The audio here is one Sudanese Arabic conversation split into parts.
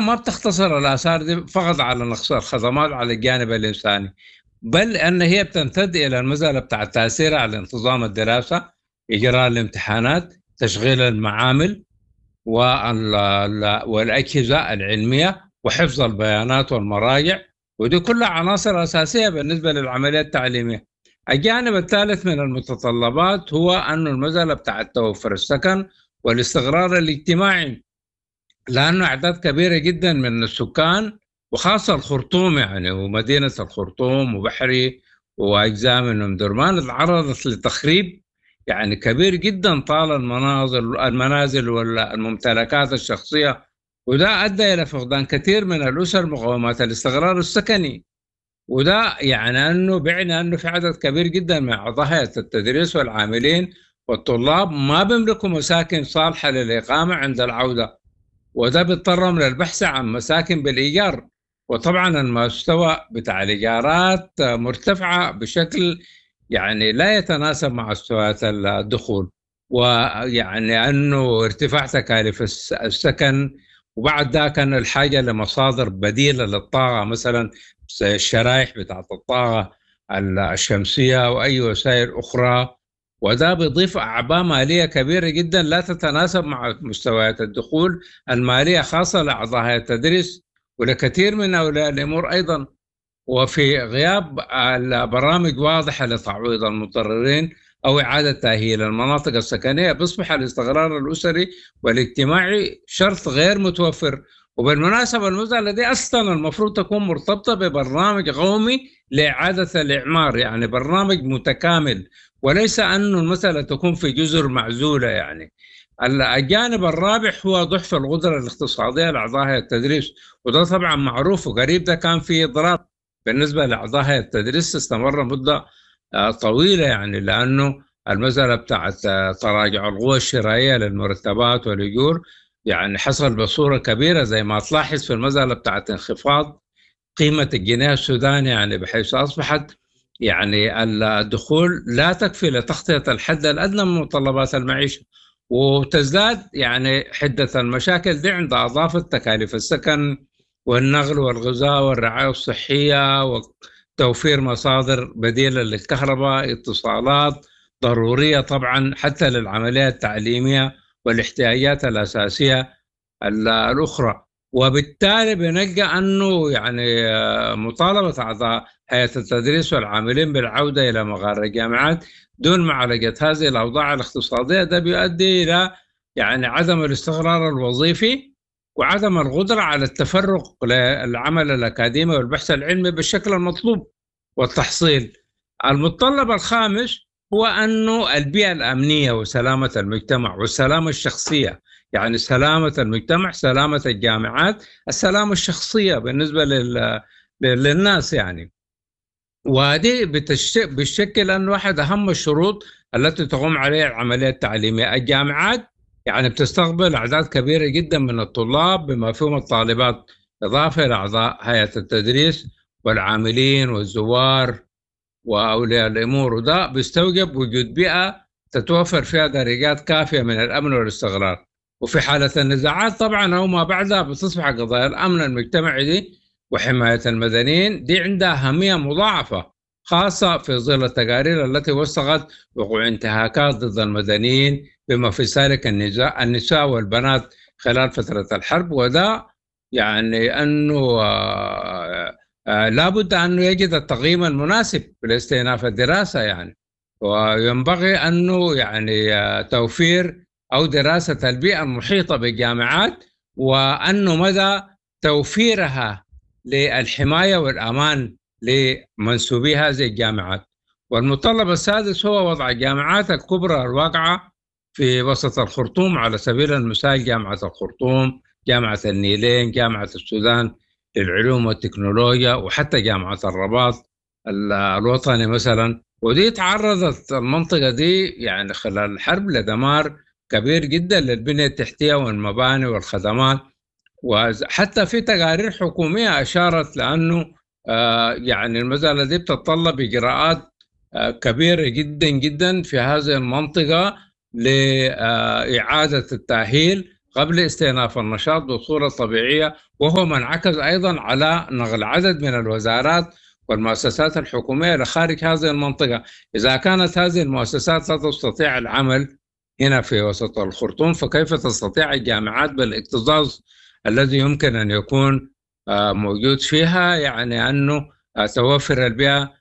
ما بتختصر الآثار دي فقط على نقص الخدمات على الجانب الإنساني، بل أن هي بتمتد إلى المسألة بتاع التأثير على انتظام الدراسة، إجراء الامتحانات، تشغيل المعامل والأجهزة العلمية وحفظ البيانات والمراجع، ودي كلها عناصر أساسية بالنسبة للعملية التعليمية. الجانب الثالث من المتطلبات هو أن المسألة بتاع توفر السكن والاستقرار الاجتماعي، لأنه أعداد كبيرة جدا من السكان وخاصة الخرطوم يعني ومدينة الخرطوم وبحري وأجزاء من أم درمان تعرضت لتخريب يعني كبير جدا طال المنازل والممتلكات الشخصية، وده أدى إلى فقدان كثير من الأسر مقومات الاستقرار السكني، وده يعني أنه بيعني أنه في عدد كبير جدا من أعضاء هيئة التدريس والعاملين والطلاب ما بيملكوا مساكن صالحة للإقامة عند العودة، وده بيضطرهم للبحث عن مساكن بالإيجار. وطبعا المستوى بتاع الإيجارات مرتفعة بشكل يعني لا يتناسب مع مستويات الدخول، ويعني أنه ارتفاع تكاليف السكن، وبعد ذاك كان الحاجة لمصادر بديلة للطاقة مثلا زي الشرائح بتاعت الطاقة الشمسية وأي وسائل أخرى، وده بيضيف أعباء مالية كبيرة جدا لا تتناسب مع مستويات الدخول المالية خاصة لأعضاء هيئة التدريس ولكثير من أولياء الأمور أيضا. وفي غياب البرامج واضحة لتعويض المتضررين أو إعادة تأهيل المناطق السكنية بيصبح الاستقرار الأسري والاجتماعي شرط غير متوفر. وبالمناسبة المسألة دي أصلا المفروض تكون مرتبطة ببرنامج قومي لإعادة الإعمار، يعني برنامج متكامل، وليس أنه المسألة تكون في جزر معزولة. يعني الجانب الرابع هو ضعف القدرة الاقتصادية لأعضاء هيئة التدريس، وده طبعا معروف وقريب ده كان في إضراب بالنسبة لأعضاء هيئة التدريس استمر مدة طويلة، يعني لأنه المسألة بتاعت تراجع القوى الشرائية للمرتبات والأجور يعني حصل بصورة كبيرة، زي ما تلاحظ في المسألة بتاعت انخفاض قيمة الجنيه السوداني، يعني بحيث أصبحت يعني الدخول لا تكفي لتغطية الحد الأدنى من متطلبات المعيشة، وتزداد يعني حدة المشاكل دي عند إضافة تكاليف السكن والنقل والغذاء والرعاية الصحية وتوفير مصادر بديلة للكهرباء، اتصالات ضرورية طبعا حتى للعملية التعليمية والاحتياجات الأساسية الأخرى. وبالتالي بنلقى أنه يعني مطالبة أعضاء هيئة التدريس والعاملين بالعودة إلى مغار الجامعات دون معالجة هذه الأوضاع الاقتصادية ده بيؤدي إلى يعني عدم الاستقرار الوظيفي وعدم القدرة على التفرغ للعمل الأكاديمي والبحث العلمي بالشكل المطلوب والتحصيل. المتطلب الخامس هو أنه البيئة الأمنية وسلامة المجتمع والسلامة الشخصية، يعني سلامة المجتمع، سلامة الجامعات، السلامة الشخصية بالنسبة للناس يعني. ودي بتشكل أنه واحد أهم الشروط التي تقوم عليها العملية التعليمية. الجامعات يعني بتستقبل أعداد كبيرة جدا من الطلاب بما فيهم الطالبات، إضافة إلى أعضاء هيئة التدريس والعاملين والزوار وأولياء الأمور، وده بيستوجب وجود بيئة تتوفر فيها درجات كافية من الأمن والاستقرار. وفي حالة النزاعات طبعا أو ما بعدها بتصبح قضايا الأمن المجتمعي دي وحماية المدنيين دي عندها أهمية مضاعفة، خاصة في ظل التقارير التي وثقت وقوع انتهاكات ضد المدنيين بما في ذلك النساء والبنات خلال فترة الحرب. وده يعني أنه لابد أنه يجد التقييم المناسب لاستئناف الدراسة يعني، وينبغي أنه يعني توفير أو دراسة البيئة المحيطة بالجامعات وأنه مدى توفيرها للحماية والأمان لمنسوبي هذه الجامعات. والمتطلب السادس هو وضع الجامعات الكبرى الواقعة في وسط الخرطوم، على سبيل المثال جامعة الخرطوم، جامعة النيلين، جامعة السودان للعلوم والتكنولوجيا، وحتى جامعة الرباط الوطني مثلا. ودي تعرضت المنطقة دي يعني خلال الحرب لدمار كبير جدا للبنية التحتية والمباني والخدمات، وحتى في تقارير حكومية أشارت لأنه يعني المسألة دي بتتطلب إجراءات كبيرة جدا جدا في هذه المنطقة لإعادة التأهيل قبل استئناف النشاط بصورة طبيعية، وهو ما انعكس أيضا على نقل عدد من الوزارات والمؤسسات الحكومية لخارج هذه المنطقة. إذا كانت هذه المؤسسات لا تستطيع العمل هنا في وسط الخرطوم، فكيف تستطيع الجامعات بالاكتظاظ الذي يمكن أن يكون موجود فيها، يعني أنه توفر البيئة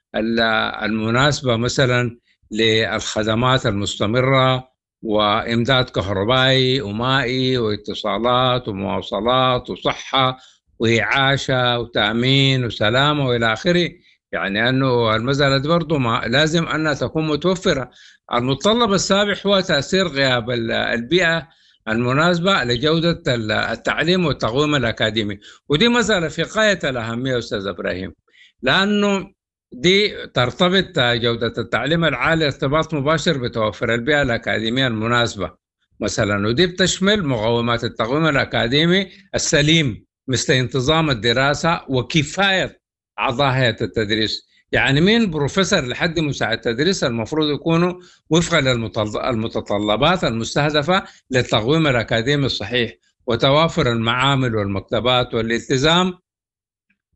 المناسبة مثلا للخدمات المستمرة وإمداد كهربائي ومائي واتصالات ومواصلات وصحة وإعاشة وتأمين وسلامة وإلى آخره. يعني أنه المسألة دي برضو ما لازم أنها تكون متوفرة. المتطلب السابع هو تأثير غياب البيئة المناسبة لجودة التعليم والتقويم الأكاديمي، ودي مسألة في غاية الأهمية أستاذ إبراهيم، لأنه دي ترتبط جودة التعليم العالي ارتباط مباشر بتوفر البيئة الأكاديمية المناسبة مثلا، ودي بتشمل مقومات التقويم الأكاديمي السليم مثل انتظام الدراسة وكفاية أعضاء هيئة التدريس. يعني مين بروفيسور لحد مساعد تدريس المفروض يكونوا وفقا للمتطلبات المستهدفة للتقويم الأكاديمي الصحيح، وتوافر المعامل والمكتبات والالتزام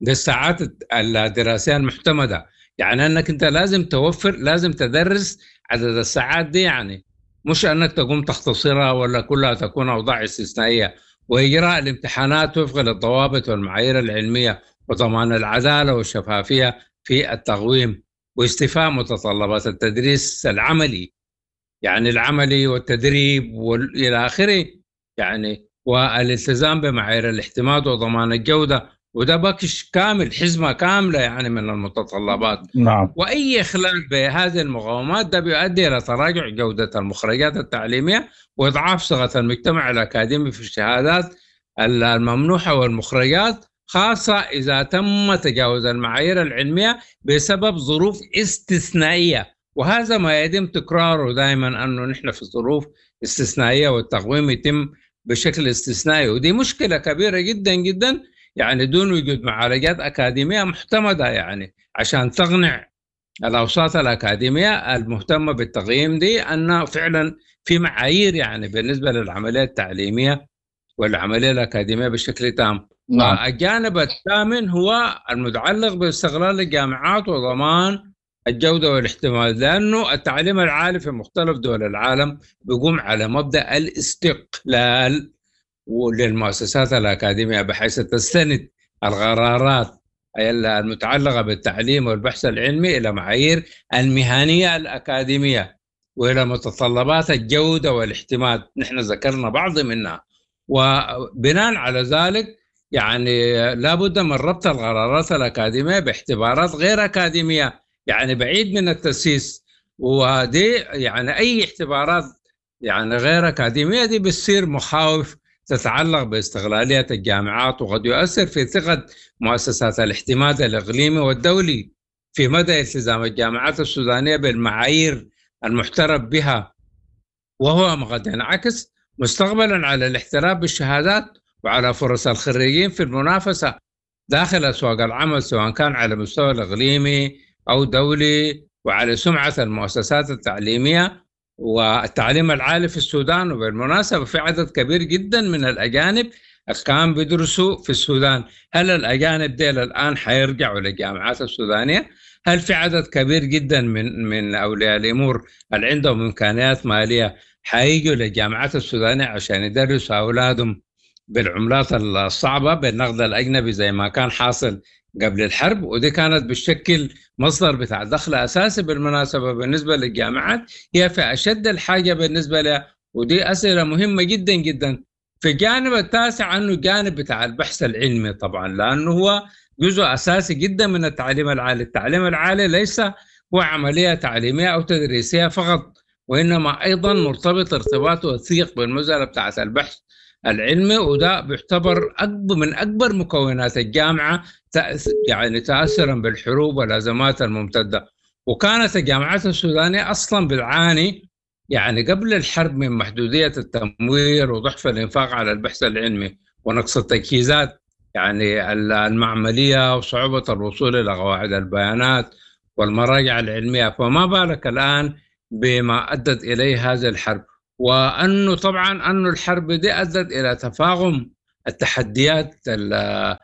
بالساعات الدراسية المعتمدة. يعني أنك أنت لازم توفر، لازم تدرس عدد الساعات دي، يعني مش أنك تقوم تختصرها ولا كلها تكون أوضاع استثنائية، وإجراء الامتحانات وفقا للضوابط والمعايير العلمية وضمان العدالة والشفافية في التقويم، واستيفاء متطلبات التدريس العملي، يعني العملي والتدريب والى آخره، يعني والالتزام بمعايير الاعتماد وضمان الجودة. وده باكش كامل، حزمة كاملة يعني من المتطلبات. نعم. وأي إخلال بهذه المقاومات ده بيؤدي إلى تراجع جودة المخرجات التعليمية وإضعاف صيغة المجتمع الأكاديمي في الشهادات الممنوحة والمخرجات، خاصة إذا تم تجاوز المعايير العلمية بسبب ظروف استثنائية. وهذا ما يتم تكراره دائما، أنه نحن في ظروف استثنائية والتقويم يتم بشكل استثنائي، ودي مشكلة كبيرة جدا جدا، يعني دون وجود معالجات أكاديمية محتمدة يعني عشان تقنع الأوساط الأكاديمية المهتمة بالتقييم دي أن فعلا في معايير يعني بالنسبة للعملية التعليمية والعملية الأكاديمية بشكل تام. نعم. الجانب الثامن هو المتعلق باستغلال الجامعات وضمان الجودة والاحتمال، لأنه التعليم العالي في مختلف دول العالم بيقوم على مبدأ الاستقلال للمؤسسات الأكاديمية، بحيث تستند القرارات المتعلقة بالتعليم والبحث العلمي إلى معايير المهنية الأكاديمية وإلى متطلبات الجودة والاحتمال، نحن ذكرنا بعض منها. وبناء على ذلك يعني لابد من ربط القرارات الأكاديمية باعتبارات غير أكاديمية، يعني بعيد من التسييس، ودي يعني أي اعتبارات يعني غير أكاديمية دي بتصير مخاوف تتعلق باستغلالية الجامعات، وقد يؤثر في ثقة مؤسسات الاعتماد الإقليمي والدولي في مدى التزام الجامعات السودانية بالمعايير المعترف بها، وهو ما قد ينعكس مستقبلا على الاحتراف بالشهادات وعلى فرص الخريجين في المنافسة داخل أسواق العمل، سواء كان على مستوى الإقليمي أو دولي، وعلى سمعة المؤسسات التعليمية والتعليم العالي في السودان. وبالمناسبة في عدد كبير جدا من الأجانب كان بيدرسوا في السودان، هل الأجانب ديل الآن حيرجعوا للجامعات السودانية؟ هل في عدد كبير جدا من أولياء الأمور اللي عندهم إمكانيات مالية حييجوا للجامعات السودانية عشان يدرسوا أولادهم بالعملات الصعبة بالنقد الأجنبي زي ما كان حاصل قبل الحرب؟ ودي كانت بتشكل مصدر بتاع دخل أساسي بالمناسبة بالنسبة للجامعات، هي في أشد الحاجة بالنسبة لها، ودي أسئلة مهمة جدا جدا. في الجانب التاسع أنه الجانب بتاع البحث العلمي طبعا، لأنه هو جزء أساسي جدا من التعليم العالي. التعليم العالي ليس هو عملية تعليمية أو تدريسية فقط، وإنما أيضا مرتبط ارتباط وثيق بالمسألة بتاعت البحث العلمي، وده بيعتبر أكبر من أكبر مكونات الجامعة يعني تأثرا بالحروب والأزمات الممتدة. وكانت الجامعات السودانية أصلا بتعاني يعني قبل الحرب من محدودية التمويل وضعف الإنفاق على البحث العلمي ونقص التجهيزات يعني المعملية وصعوبة الوصول إلى قواعد البيانات والمراجع العلمية، فما بالك الآن بما أدت إليه هذه الحرب. وأنه طبعا أنه الحرب دي أدت إلى تفاقم التحديات اللي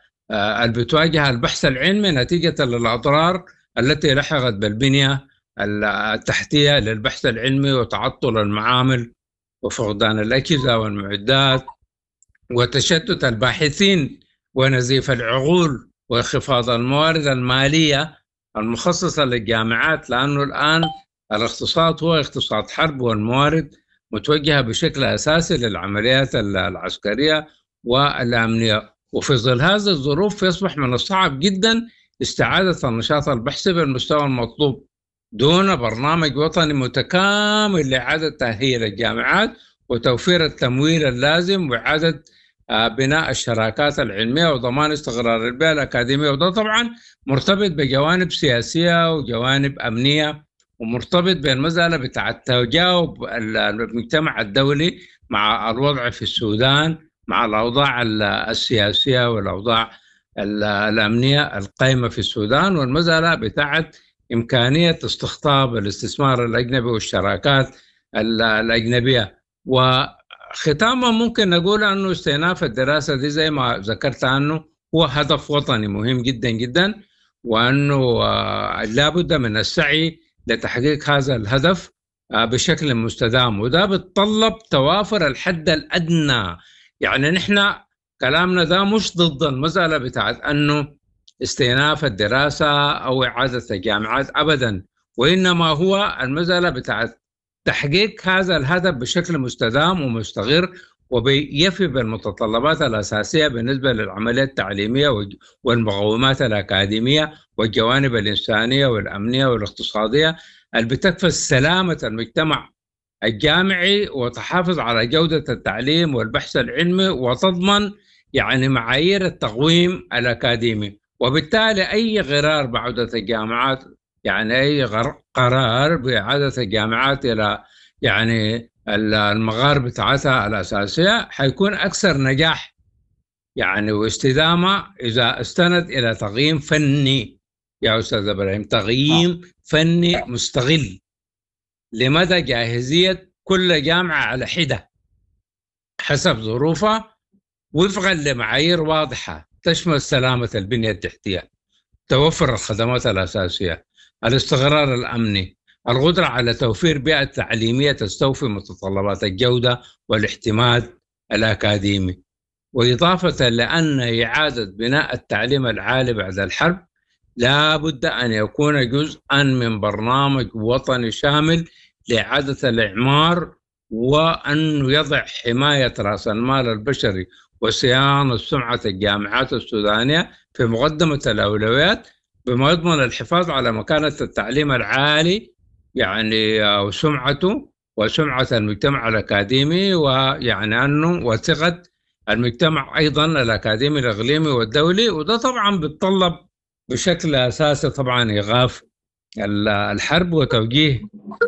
بتواجه البحث العلمي نتيجة للأضرار التي لحقت بالبنية التحتية للبحث العلمي وتعطل المعامل وفقدان الأجهزة والمعدات وتشتت الباحثين ونزيف العقول وانخفاض الموارد المالية المخصصة للجامعات، لأنه الآن الاقتصاد هو اقتصاد حرب والموارد متوجهة بشكل أساسي للعمليات العسكرية والأمنية. وفي ظل هذه الظروف يصبح من الصعب جدا استعادة النشاط البحثي بالمستوى المطلوب دون برنامج وطني متكامل لإعادة تأهيل الجامعات وتوفير التمويل اللازم وإعادة بناء الشراكات العلمية وضمان استقرار البيئة الأكاديمية. وده طبعا مرتبط بجوانب سياسية وجوانب أمنية، ومرتبط بالمسألة بتاع التجاوب المجتمع الدولي مع الوضع في السودان، مع الأوضاع السياسية والأوضاع الأمنية القائمة في السودان، والمسألة بتاعت إمكانية استقطاب الاستثمار الأجنبي والشراكات الأجنبية. وختاما ممكن نقول أنه استئناف الدراسة دي زي ما ذكرت عنه هو هدف وطني مهم جدا جدا، وأنه لابد من السعي لتحقيق هذا الهدف بشكل مستدام، وده بيتطلب توافر الحد الأدنى. يعني نحن كلامنا ده مش ضد المسألة بتاعت أنه استئناف الدراسة أو إعادة الجامعات أبدا، وإنما هو المسألة بتاعت تحقيق هذا الهدف بشكل مستدام ومستقر وبيفي بالمتطلبات الأساسية بالنسبة للعملية التعليمية والمقومات الأكاديمية والجوانب الإنسانية والأمنية والاقتصادية اللي بتكفل سلامة المجتمع الجامعي وتحافظ على جودة التعليم والبحث العلمي وتضمن يعني معايير التقويم الأكاديمي. وبالتالي أي قرار بعودة الجامعات، يعني أي قرار بإعادة الجامعات إلى يعني المغار بتاعتها الأساسية حيكون أكثر نجاح يعني واستدامة إذا استند إلى تقييم فني يا أستاذ إبراهيم، تقييم فني مستغل لمدى جاهزية كل جامعة على حدة حسب ظروفها وفقا لمعايير واضحة تشمل سلامة البنية التحتية، توفر الخدمات الأساسية، الاستقرار الأمني، القدرة على توفير بيئة تعليمية تستوفي متطلبات الجودة والاعتماد الأكاديمي. وإضافة لأن إعادة بناء التعليم العالي بعد الحرب لا بد أن يكون جزءا من برنامج وطني شامل لإعادة الإعمار، وأن يضع حماية رأس المال البشري وصيانة سمعة الجامعات السودانية في مقدمة الأولويات، بما يضمن الحفاظ على مكانة التعليم العالي يعني وسمعته وسمعة المجتمع الأكاديمي، ويعني أنه وثقة المجتمع أيضا الأكاديمي الإقليمي والدولي. وده طبعا بيتطلب بشكل أساسي طبعا إيقاف الحرب وتوجيه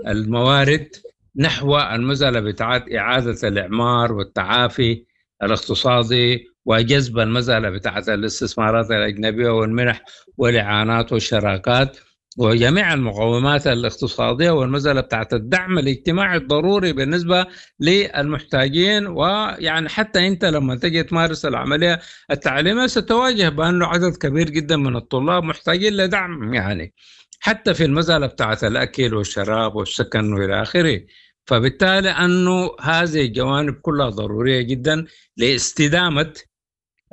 الموارد نحو المسألة بتاعت إعادة الإعمار والتعافي الاقتصادي، وجذب المسألة بتاعت الاستثمارات الأجنبية والمنح والإعانات والشراكات وجميع المقومات الاقتصادية، والمسألة بتاعت الدعم الاجتماعي الضروري بالنسبة للمحتاجين. ويعني حتى أنت لما تجي تمارس العملية التعليمية ستواجه بأنه عدد كبير جدا من الطلاب محتاجين لدعم، يعني حتى في المسألة بتاعت الأكل والشراب والسكن وإلى آخره. فبالتالي أنه هذه الجوانب كلها ضرورية جدا لاستدامة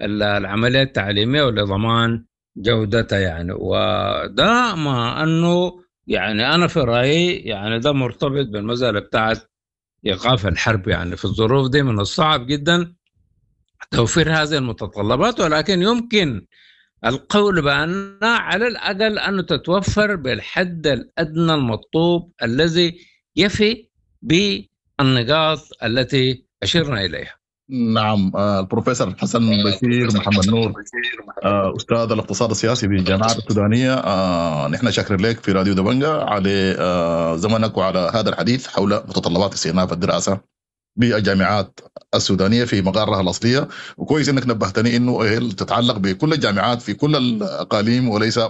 العملية التعليمية ولضمان جودتها يعني. وده ما أنه يعني أنا في رأيي يعني ده مرتبط بالمسألة بتاعت إيقاف الحرب. يعني في الظروف دي من الصعب جدا توفير هذه المتطلبات، ولكن يمكن القول بأن على الأقل أنه تتوفر بالحد الأدنى المطلوب الذي يفي بالنقاط التي أشرنا إليها. نعم، البروفيسور حسن بشير محمد نور، أستاذ الاقتصاد السياسي بالجامعة السودانية، نحن شاكرين لك في راديو دبنجة على زمنك وعلى هذا الحديث حول متطلبات استئناف الدراسة بالجامعات السودانية في مقارها الأصلية. وكويس إنك نبهتني إنه هي تتعلق بكل الجامعات في كل الأقاليم وليس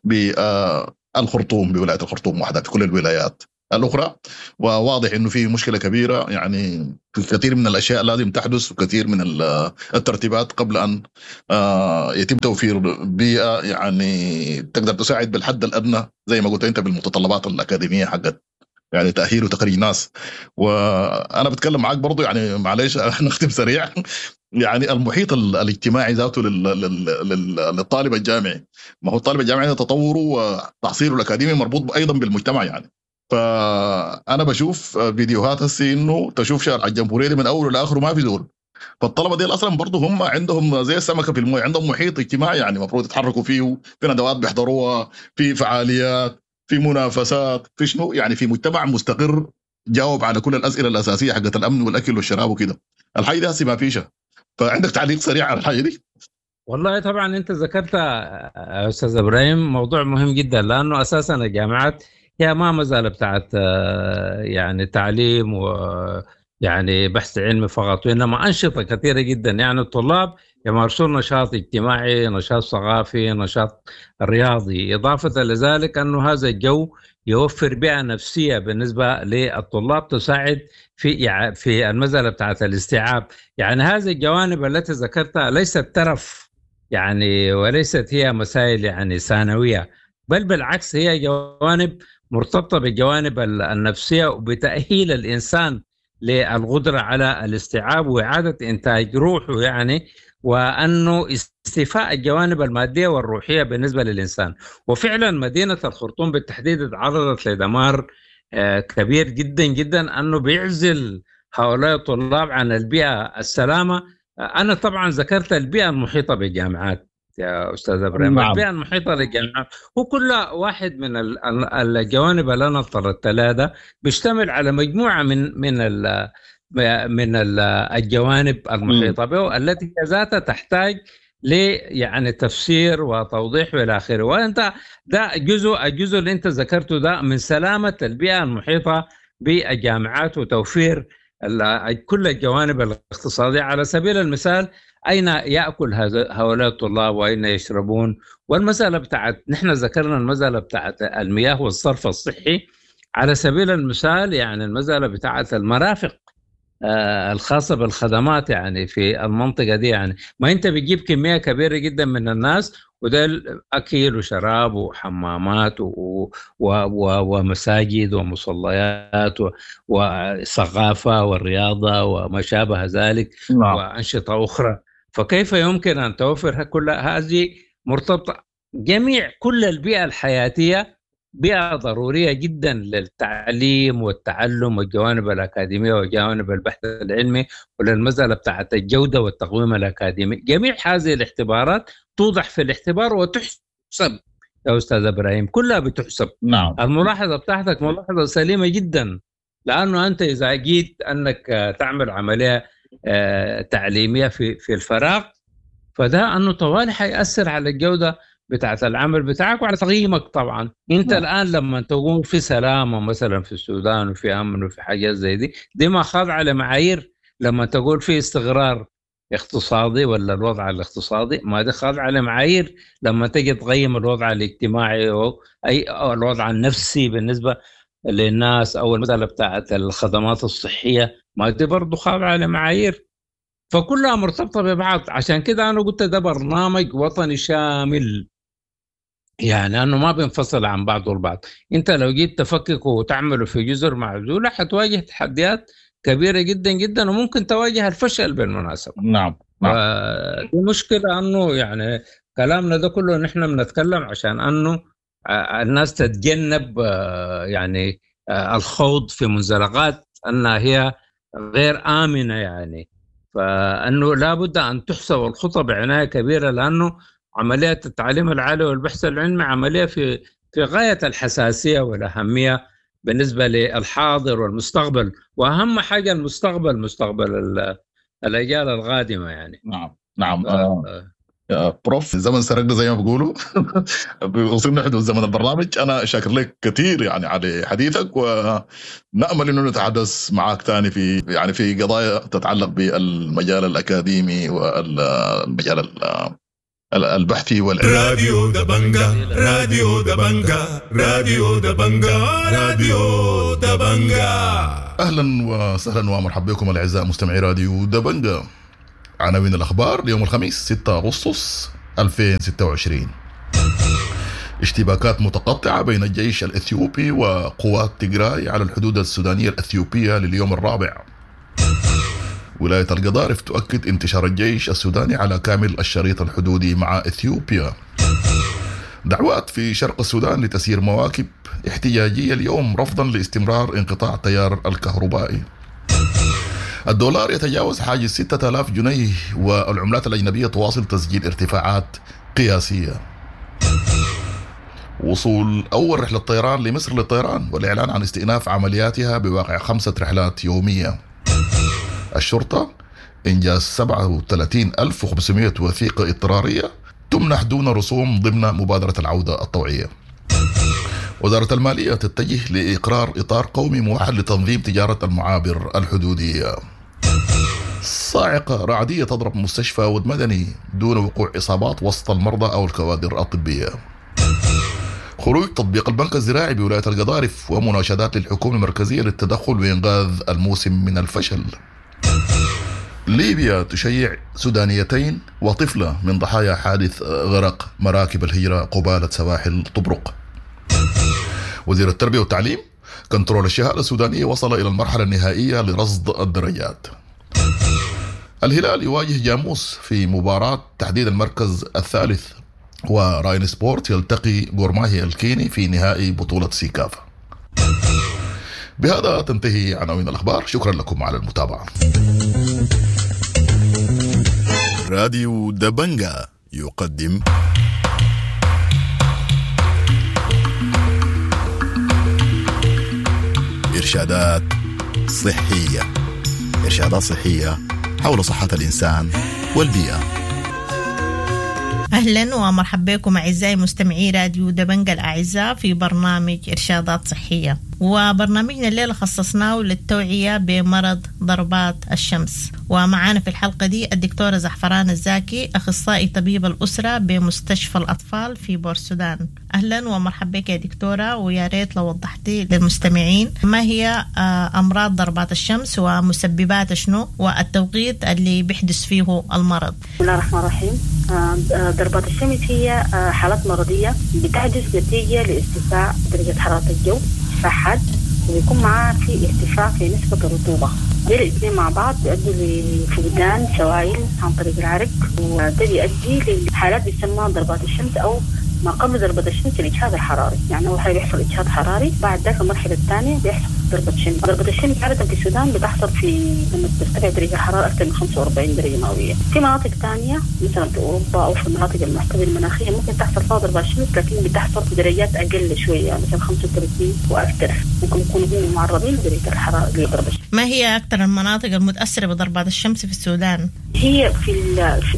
بالخرطوم، بولاية الخرطوم وحدها، في كل الولايات الاخرى. وواضح انه في مشكلة كبيرة، يعني في كثير من الاشياء لازم تحدث وكثير من الترتيبات قبل ان يتم توفير بيئة يعني تقدر تساعد بالحد الادنى زي ما قلت انت بالمتطلبات الاكاديمية حقت يعني تاهيل وتخريج ناس. وانا بتكلم معاك برضو يعني معلش نختم سريع، يعني المحيط الاجتماعي ذاته للطالب الجامعي، ما هو الطالب الجامعي تطوره وتحصيله الاكاديمي مربوط ايضا بالمجتمع يعني. فانا بشوف فيديوهات هسي انه تشوف شارع الجمهورية دي من اوله لاخره ما في زول، فالطلبه دي اصلا برضه هم عندهم زي السمكة في المويه، عندهم محيط اجتماعي يعني المفروض يتحركوا فيه، في ندوات بيحضروها، في فعاليات، في منافسات، في شنو يعني، في مجتمع مستقر جاوب على كل الاسئلة الاساسية حقت الامن والاكل والشراب وكده. الحاجة دي هسه ما فيش. فعندك تعليق سريع على الحاجة دي؟ والله طبعا انت ذكرت استاذ ابراهيم موضوع مهم جدا، لانه اساسا الجامعات هي ما مازال بتاعت يعني تعليم و يعني بحث علمي فقط، وانما انشطة كثيرة جدا. يعني الطلاب يمارسون نشاط اجتماعي، نشاط ثقافي، نشاط رياضي. اضافه لذلك انه هذا الجو يوفر بيئة نفسية بالنسبة للطلاب تساعد في المسالة بتاعت الاستيعاب. يعني هذه الجوانب التي ذكرتها ليست ترف يعني، وليست هي مسائل يعني ثانوية، بل بالعكس هي جوانب مرتبطة بالجوانب النفسية وبتاهيل الانسان للقدرة على الاستيعاب واعاده انتاج روحه يعني، وانه استيفاء الجوانب المادية والروحية بالنسبة للانسان. وفعلا مدينة الخرطوم بالتحديد تعرضت لدمار كبير جدا جدا، انه بيعزل هؤلاء الطلاب عن البيئة السلامة. انا طبعا ذكرت البيئة المحيطة بالجامعات يا استاذ ابراهيم. نعم. البيئة المحيطة للجامعات هو كل واحد من الجوانب اللي انا طردت لها ده بيشتمل على مجموعة من الجوانب المحيطة به التي هي ذاتها تحتاج ل يعني تفسير وتوضيح والى اخره. وانت ده الجزء اللي انت ذكرته ده من سلامه البيئة المحيطة بالجامعات وتوفير كل الجوانب الاقتصادية. على سبيل المثال اين ياكل هؤلاء الطلاب واين يشربون، والمسالة بتاعت نحن ذكرنا المسالة بتاعت المياه والصرف الصحي على سبيل المثال، يعني المسالة بتاعت المرافق الخاصة بالخدمات يعني في المنطقة دي. يعني ما انت بتجيب كمية كبيرة جدا من الناس، وده اكل وشراب وحمامات ومساجد ومصليات وثقافة والرياضة وما شابه ذلك. نعم. وانشطه اخرى. فكيف يمكن ان توفر كل هذه مرتبطة جميع كل البيئة الحياتية، بيئة ضرورية جدا للتعليم والتعلم والجوانب الأكاديمية وجوانب البحث العلمي وللمسألة بتاعت الجودة والتقويم الأكاديمي. جميع هذه الاختبارات توضح في الاختبار وتحسب يا أستاذ إبراهيم، كلها بتحسب. نعم. الملاحظة بتاعتك ملاحظة سليمة جدا، لأنه أنت إذا جيت أنك تعمل عملية تعليمية في الفراغ، فده أنه طوال حيأثر على الجودة بتاعت العمل بتاعك وعلى تقييمك طبعا. انت نعم. الان لما تقوم في سلامه مثلا في السودان وفي امن وفي حاجات زي دي ما خاضعة لمعايير. لما تقول في استقرار اقتصادي ولا الوضع الاقتصادي، ما دي خاضعة لمعايير. لما تجي تقيم الوضع الاجتماعي او اي أو الوضع النفسي بالنسبة للناس او المسالة بتاعت الخدمات الصحية، ما دي برضه خاضعة لمعايير. فكلها مرتبطة ببعض. عشان كده انا قلت ده برنامج وطني شامل، يعني أنه ما بينفصل عن بعضه البعض. أنت لو جيت تفككه وتعمله في جزر معزولة حتواجه تحديات كبيرة جدا جدا، وممكن تواجه الفشل بالمناسبة. نعم. نعم. دي مشكلة، أنه يعني كلامنا ده كله نحن بنتكلم عشان أنه الناس تتجنب يعني الخوض في منزلقات أنها هي غير آمنة يعني. فأنه لابد أن تحسب الخطى بعناية كبيرة، لأنه عملية التعليم العالي والبحث العلمي عملية في غاية الحساسية والأهمية بالنسبة للحاضر والمستقبل، وأهم حاجة المستقبل، مستقبل الأجيال القادمة يعني. نعم. نعم. بروف، الزمن سرقنا زي ما بيقولوا. وصلنا حدود زمن البرنامج. أنا شاكر لك كثير يعني على حديثك، ونأمل إنه نتحدث معك ثاني في يعني في قضايا تتعلق بالمجال الأكاديمي والمجال البحثي والعلمي. راديو دبنجا، راديو دبنجا، راديو دبنجا، راديو دبنجا. اهلا وسهلا ومرحبا بكم الاعزاء مستمعي راديو دبنجا. عناوين الاخبار ليوم الخميس 6 اغسطس 2026. اشتباكات متقطعة بين الجيش الإثيوبي وقوات تيغراي على الحدود السودانية الإثيوبية لليوم الرابع. ولاية القضارف تؤكد انتشار الجيش السوداني على كامل الشريط الحدودي مع إثيوبيا. دعوات في شرق السودان لتسيير مواكب احتجاجية اليوم رفضا لاستمرار انقطاع التيار الكهربائي. الدولار يتجاوز حاجز 6000 جنيه والعملات الأجنبية تواصل تسجيل ارتفاعات قياسية. وصول أول رحلة طيران لمصر للطيران والإعلان عن استئناف عملياتها بواقع 5 رحلات يومية. الشرطة إنجاز 37500 وثيقة اضطرارية تمنح دون رسوم ضمن مبادرة العودة الطوعية. وزارة المالية تتجه لإقرار إطار قومي موحد لتنظيم تجارة المعابر الحدودية. صاعقة رعدية تضرب مستشفى ود مدني دون وقوع إصابات وسط المرضى أو الكوادر الطبية. خروج تطبيق البنك الزراعي بولاية القضارف ومناشدات للحكومة المركزية للتدخل وإنقاذ الموسم من الفشل. ليبيا تشيع سودانيتين وطفلة من ضحايا حادث غرق مراكب الهجرة قبالة سواحل طبرق. وزير التربية والتعليم: كنترول الشهادة السودانية وصل إلى المرحلة النهائية لرصد الدرجات. الهلال يواجه جاموس في مباراة تحديد المركز الثالث، وراين سبورت يلتقي غورماهي الكيني في نهائي بطولة سيكافا. بهذا تنتهي عناوين الأخبار، شكرا لكم على المتابعة. راديو دبنجا يقدم إرشادات صحية. إرشادات صحية حول صحة الإنسان والبيئة. أهلا ومرحبا بكم أعزائي مستمعي راديو دبنجا الأعزاء في برنامج إرشادات صحية. وبرنامجنا الليلة خصصناه للتوعية بمرض ضربات الشمس، ومعانا في الحلقة دي الدكتورة زعفران الزاكي، أخصائي طبيب الأسرة بمستشفى الأطفال في بورسودان. أهلا ومرحبا بك يا دكتورة، ويا ريت لو وضحتي للمستمعين ما هي أمراض ضربات الشمس ومسببات شنو والتوقيت اللي بيحدث فيه المرض. بسم الله الرحمن الرحيم. ضربات الشمس هي حالات مرضية بتحدث نتيجة لارتفاع درجة حرارة الجو حاد، وبيكون معاه في ارتفاع في نسبة الرطوبة. دي الاثنين مع بعض بيؤدوا لفقدان سوائل عن طريق العرق، وده بيؤدي لحالات بيسمى ضربات الشمس أو ما قبل ضربة الشمس الإجهاد الحراري. يعني أول حاجة بيحصل إجهاد حراري، بعد ذاك المرحلة الثانية بيحصل ضربة شمس. ضربة الشمس عادة في السودان بتحصل في لما ترتفع درجة الحرارة أكثر من 45 درجة مئوية. في مناطق ثانية مثلا في أوروبا أو في المناطق المعتدلة المناخية ممكن تحصل فيها ضربة شمس، لكن بتحصل في درجات أقل شوية، مثلا 35 وأكثر، ممكن يكونوا هم معرضين لدرجة الحرارة لضربة الشمس. ما هي أكثر المناطق المتأثرة بضربات الشمس في السودان؟ هي في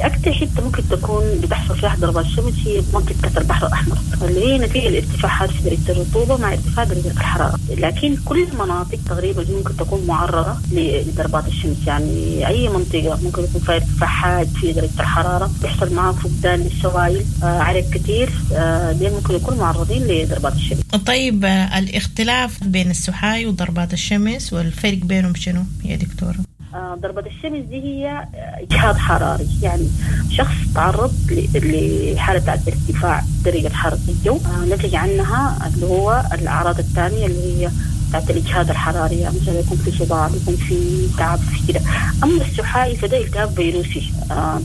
أكثر حتة ممكن تكون بتحصل فيها ضربات الشمس هي منطقة البحر الأحمر، اللي هي نتيجة الارتفاعات في درجة الرطوبة مع ارتفاع درجة الحرارة. لكن كل المناطق تقريبا ممكن تكون معرضة لضربات الشمس، يعني أي منطقة ممكن يكون فيها ارتفاع حاد في درجة الحرارة، بيحصل معها فقدان للسوائل، عرق كثير، دي ممكن يكونوا معرضين لضربات الشمس. طيب الاختلاف بين السحاي وضربات الشمس والفرق بينهم شنو يا دكتورة؟ ضربة الشمس دي هي إجهاد حراري، يعني شخص تعرض لحالة ارتفاع درجة حرارة الجو، نتج عنها اللي هو الأعراض الثانية اللي هي بتاعت الإجهاد الحراري، يعني مثلا يكون في صداع، يكون في تعب، في كده. أما السحائي فده التهاب فيروسي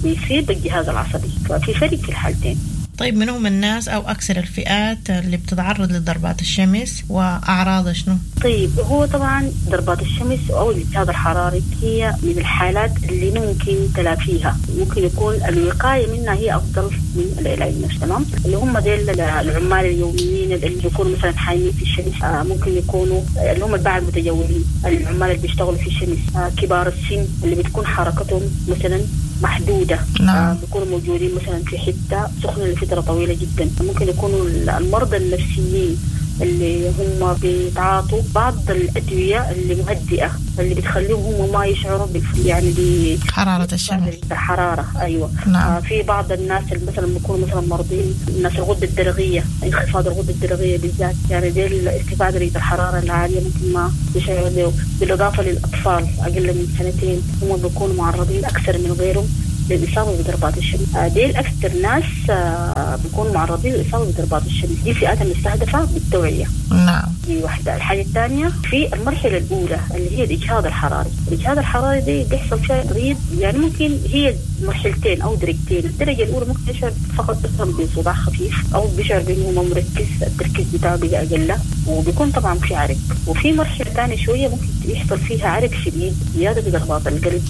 بيصيب الجهاز العصبي، ففي فرق في الحالتين. طيب من هم الناس أو أكثر الفئات اللي بتتعرض لضربات الشمس وأعراضها شنو؟ طيب هو طبعا ضربات الشمس أو الإجهاد الحراري هي من الحالات اللي ممكن تلافيها، ممكن يكون الوقاية منها هي أفضل من العلاج نفسه. تمام، اللي هم ديل العمال اليوميين اللي بيكونوا مثلا حايمين في الشمس، ممكن يكونوا اللي هم الباعة المتجولين، العمال اللي بيشتغلوا في الشمس، كبار السن اللي بتكون حركتهم مثلا محدودة. نعم. بيكونوا موجودين مثلا في حتة سخنة لفترة طويلة جدا. ممكن يكونوا المرضى النفسيين اللي هم بيتعاطوا بعض الأدوية اللي مهدئة اللي بتخليهم هم ما يشعروا يعني حرارة الشمس، الحرارة. أيوة. نعم. في بعض الناس اللي مثلا بيكونوا مثلا مرضين، الناس الغدة الدرقية، انخفاض الغدة الدرقية بالذات، يعني دي ارتفاع درجة الحرارة العالية ممكن ما يشعروا به. بالإضافة للأطفال أقل من سنتين هم بيكونوا معرضين أكثر من غيرهم للإصابة بضربات الشمس. ديل أكثر ناس بيكونوا معرضين للإصابة بضربات الشمس. دي فئات المستهدفة بالتوعية. نعم. دي واحدة. الحاجة الثانية في المرحلة الأولى اللي هي الإجهاد الحراري. الإجهاد الحراري دي بيحصل فيها مريض، يعني ممكن هي مرحلتين أو درجتين. الدرجة الأولى ممكن يشعر فقط مثلا بصداع خفيف أو بيشعر بأنه ما مركز، التركيز بتاعه بقى أقل، وبيكون طبعا في عرق. وفي مرحلة ثانية شوية ممكن يحصل فيها عرق شديد، زيادة في ضربات القلب،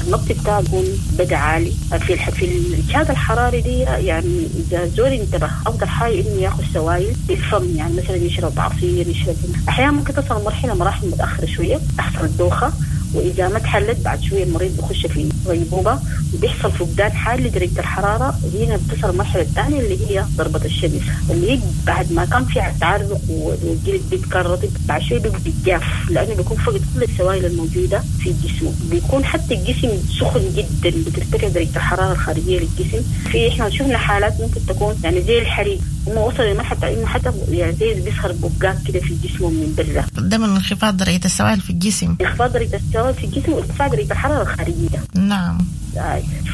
النبض بتاعه بيكون بدأ عالي. في الإجهاد الحراري دي يعني إذا زول انتبه أفضل حاجة إنه ياخذ سوائل بالفم، يعني مثلا يشرب عصير، يشرب. أحيانا ممكن تصل مرحلة مراحل متأخرة شوية تحصل الدوخة، وإذا ما تحلت بعد شوية المريض بيخش في غيبوبة وبيحصل فقدان حاد لدرجة الحرارة. هنا بتصل المرحلة الثانية اللي هي ضربة الشمس، اللي هي بعد ما كان في تعرق والجلد بيتكون رطب، بعد شوية بيبقى جاف لأنه بيكون فقد كل السوائل الموجودة في جسمه، بيكون حتى الجسم سخن جدا، بترتفع درجة الحرارة الخارجية للجسم. في إحنا شفنا حالات ممكن تكون يعني زي الحريق، هم وصل لمرحلة إنه حتى يعني زي بيظهر بقات كده في جسمه من برا. ده من انخفاض درجة السوائل في الجسم. انخفاض درجة السوائل في الجسم وارتفاع درجة الحرارة الخارجية. نعم.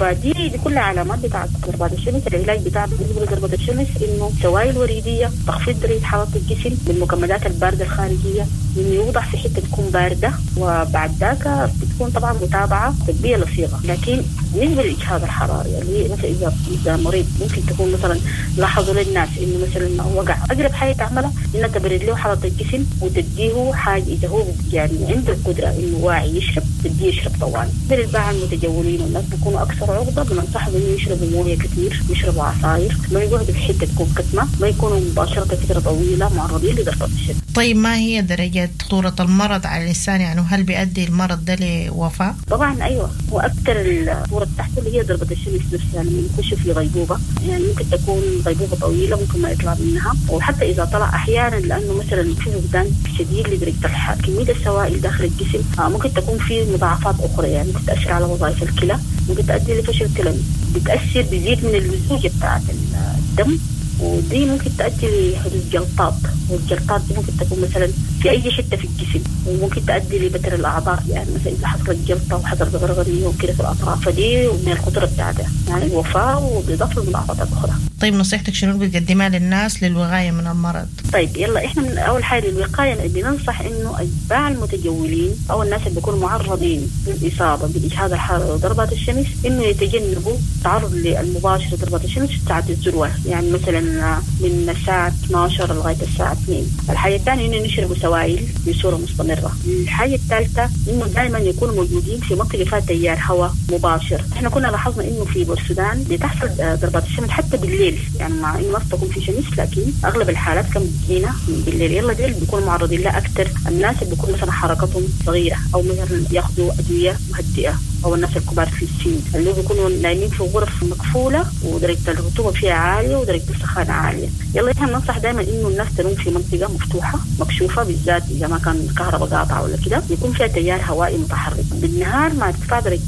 فدي كلها علامات بتاعت ضربات الشمس. العلاج بتاع بالنسبة لضربة الشمس إنه سوائل وريدية، تخفيض درجة حرارة الجسم بالمكملات الباردة الخارجية، إنه يوضع في حتة تكون باردة، وبعد ذاك بتكون طبعا متابعة طبية لصيغة. لكن بالنسبة للإجهاد الحراري اللي مثلا إذا مريض ممكن تكون مثلا لاحظوا للناس إنه مثلا وقع، أقرب حاجة تعملها إنها تبرد له حرارة الجسم وتديه حاجة إذا هو يعني عنده القدرة إنه واعي يشرب، تديه يشرب طوال. بالباع المتجولين والناس بيكونوا أكثر عرضة، بننصحهم إنه يشربوا موية كثير، يشربوا عصاير، ما يقعدوا في حتة تكون كتمة، ما يكونوا مباشرة فترة طويلة معرضين لضربة الشمس. طيب ما هي درجة خطورة المرض على الإنسان؟ يعني هل بيؤدي المرض ده لوفاة؟ طبعا أيوة، وأكثر الخطورة بتاعته اللي هي ضربة الشمس نفسها لما يخش في غيبوبة، يعني ممكن تكون غيبوبة طويلة ممكن ما يطلع منها، وحتى إذا طلع أحيانا لأنه مثلا في فقدان شديد لدرجة كمية السوائل داخل الجسم، ممكن تكون في مضاعفات أخرى، يعني ممكن تأثر على وظائف الكلى، ممكن تؤدي لفشل كلوي، بتأثر بيزيد من اللزوجة بتاعت الدم، ودي ممكن تؤدي لحدوث جلطات، والجلطات دي ممكن تكون مثلا في أي حتة في الجسم، وممكن تؤدي لبتر الأعضاء، يعني مثلا إذا حصلت جلطة وحصلت غرغرية وكده في الأطراف، فدي من الخطورة بتاعتها يعني الوفاة وبإضافة للمضاعفات الأخرى. طيب نصيحتك شنو بتقدمها للناس للوقاية من المرض؟ طيب يلا إحنا من أول حاجة للوقاية بننصح إنه أتباع المتجولين أو الناس اللي بيكونوا معرضين للإصابة بالإجهاد الحراري وضربات الشمس إنه يتجنبوا التعرض للمباشر لضربات الشمس في ساعة الذروة، يعني مثلا من الساعة 12 لغاية الساعة 2. الحاجة الثانية إنه يشربوا سوائل بصورة مستمرة. الحاجة الثالثة إنه دائما يكونوا موجودين في منطقة فيها تيار هواء مباشر. إحنا كنا لاحظنا إنه في بورسودان بتحصل ضربات الشمس حتى بالليل، يعني مع إنه ما تكون في شمس لكن أغلب الحالات كان بتجينا بالليل. يلا ديل بيكونوا معرضين لها أكثر الناس اللي بيكون مثلا حركتهم صغيرة أو مثلا ياخذوا أدوية مهدئة، أو الناس الكبار في السن اللي بيكونوا نايمين في غرف مقفولة ودرجة الرطوبة فيها عالية ودرجة السخانة عالية. يلا إحنا بننصح دائما إنه الناس تنوم في منطقة مفتوحة مكشوفة، بالذات إذا ما كان الكهرباء قاطعة ولا كده، يكون فيها تيار هوائي متحرك بالنهار مع ارتفاع درجة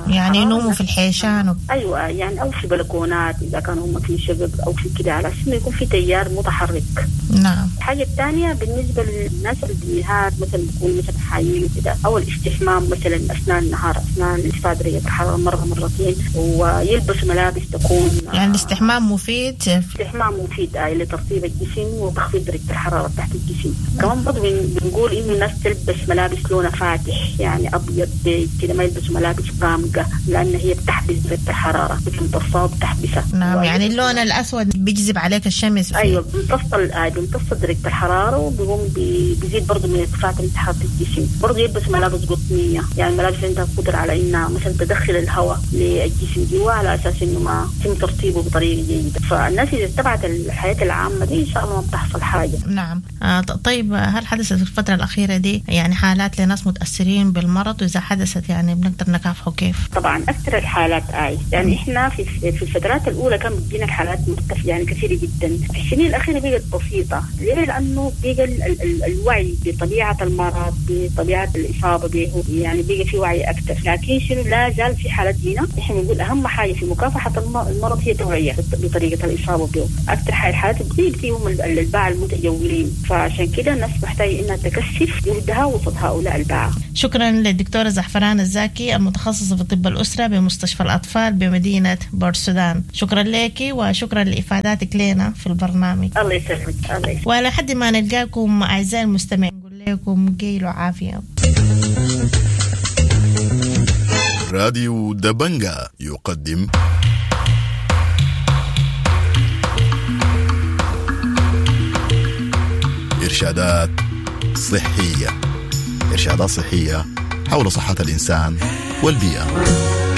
يعني ينوموا في الحيشان أيوة، يعني أو في بلكونات إذا كانوا هم في شقق أو في كده، على أساس إنه يكون في تيار متحرك. نعم. الحاجة الثانية بالنسبة للناس اللي بالنهار مثلا بيكونوا مثلا حايين وكده، أو الاستحمام مثلا أثناء النهار أثناء ارتفاع درجة الحرارة مرة مرتين، ويلبس ملابس تكون يعني الاستحمام مفيد. الاستحمام مفيد لترطيب الجسم وتخفيض درجة الحرارة تحت الجسم. كمان برضه بنقول إنه الناس تلبس ملابس لونها فاتح، يعني أبيض بيج كده، ما يلبسوا ملابس غامقة لأن هي بتحبس درجة الحرارة، بتمتصها وبتحبسها. نعم، يعني اللون الأسود بيجذب عليك الشمس. أيوة، بيمتص درجة الحرارة وبيقوم بيزيد برضه من ارتفاع درجة حرارة الجسم. برضه يلبس ملابس قطنية، يعني ملابس عندها قدرة على إنها مثلا تدخل الهواء للجسم جوا على أساس إنه ما ما يتم ترطيبه بطريقة جيدة. فالناس اذا اتبعت الحياة العامة دي ان شاء الله ما بتحصل حاجة. نعم. طيب، هل حدثت في الفترة الأخيرة دي يعني حالات لناس متأثرين بالمرض؟ وإذا حدثت يعني بنقدر نكافحه كيف؟ طبعا اكثر الحالات اي، يعني احنا في الفترات الاولى كان بتجينا الحالات مرتفعة يعني كثيرة جدا، في السنين الاخيرة بقت بسيطة. ليه؟ لانه بقى الوعي بطبيعة المرض، بطبيعة الاصابة به، يعني بقى في وعي اكثر. لكن شنو، لا زال في حالات هنا. احنا بنقول اهم حاجة في مكافحة المرض هي التوعية بطريقة الاصابة به. اكثر حاجة الحالات بتجي فيهم الباعة المتجولين، فعشان كده الناس محتاجه انها تكثف جهدها وسط هؤلاء الباعة. شكرا للدكتورة زعفران الزاكي المتخصصة في طب الأسرة بمستشفى الأطفال بمدينة بورسودان. شكرا لك وشكرا لإفاداتك لنا في البرنامج. الله يسلمك. الله يسلمك. ولحد ما نلقاكم أعزائي المستمعين نقول لكم قيل وعافية. راديو دبنجا يقدم إرشادات صحية. إرشادات صحية حول صحة الإنسان والبيئة.